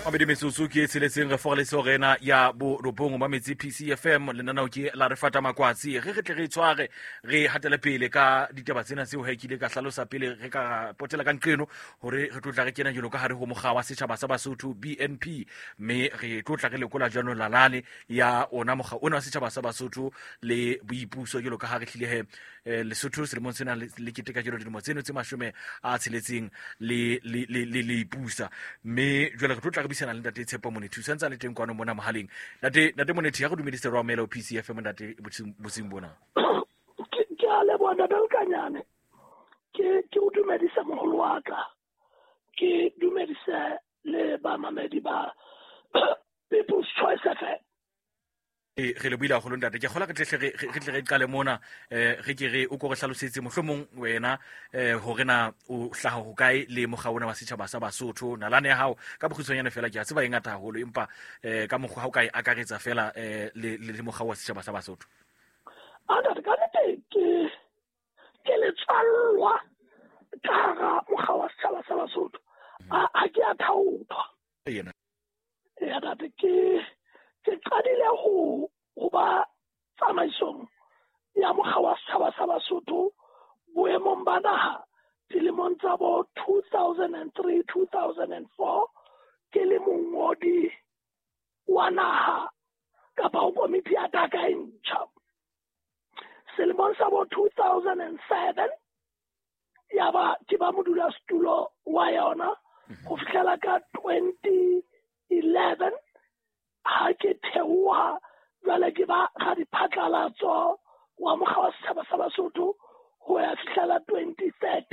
Mabedi metsotso ke e tsheletseng re foreletse hore ena ya borobong ba metsi PCFM lenaneo ke la re fata makwatsi. Re re tle re tshware re hatele pele ka ditaba tsena tseo ha ke ile ka hlalosa pele re ka potela ka nqeno hore re tlotla re kena jalo ka hare ho mokga wa setjhaba sa Basotho BNP, mme re tlotla re lekola jalo lalane ya ona mokga ona wa setjhaba sa Basotho le boipuso jalo ka ha re hlile he Lesotho selemong sena le keteka jalo dilemo tseno tse 60 le ipusa. Mme jwale re tlo tla re buisana le ntate Tshepo Monethi, o santse a le teng kwano mona mohaleng. Ntate Monethi, ya re dumedise re amela PCFM ntate bosing bona. Ke a leboha ntate Lekanyane. Ke o dumedise moholo wa ka. Ke dumedise le bamamedi ba People's Choice FM. E re le buile haholo ntate, ke kgola re tle re tle re qale mona, re ke re o ko re hlalosetse mohlomong wena hore na o hlaha hokae le mokga ona wa setjhaba sa Basotho, nalane ya hao ka bokgutshwanyane fela, ke a tseba e ngata haholo empa ka mokgwa ha o ka e akaretsa fela le mokga wa setjhaba sa Basotho. A ntate, ka nnete ke letswallwa ka hara mokga wa setjhaba sa Basotho. A ke a thaothwa. Yena. Ya ntate, ke qadile ho ba tsamaisong ya mokga wa setjhaba sa Basotho boemong ba naha dilemong tsa bo 2003, 2004, ke le mongodi wa naha kapa ho komiti ya taka e ntjha. Selemong sa bo 2007 ya ba ke ba modulasetulo wa yona ho fihlela ka 2011 ha ke theoha jwale ke ba radiphatlalatso wa mokga wa setjhaba sa Basotho ho ya fihlela 2013.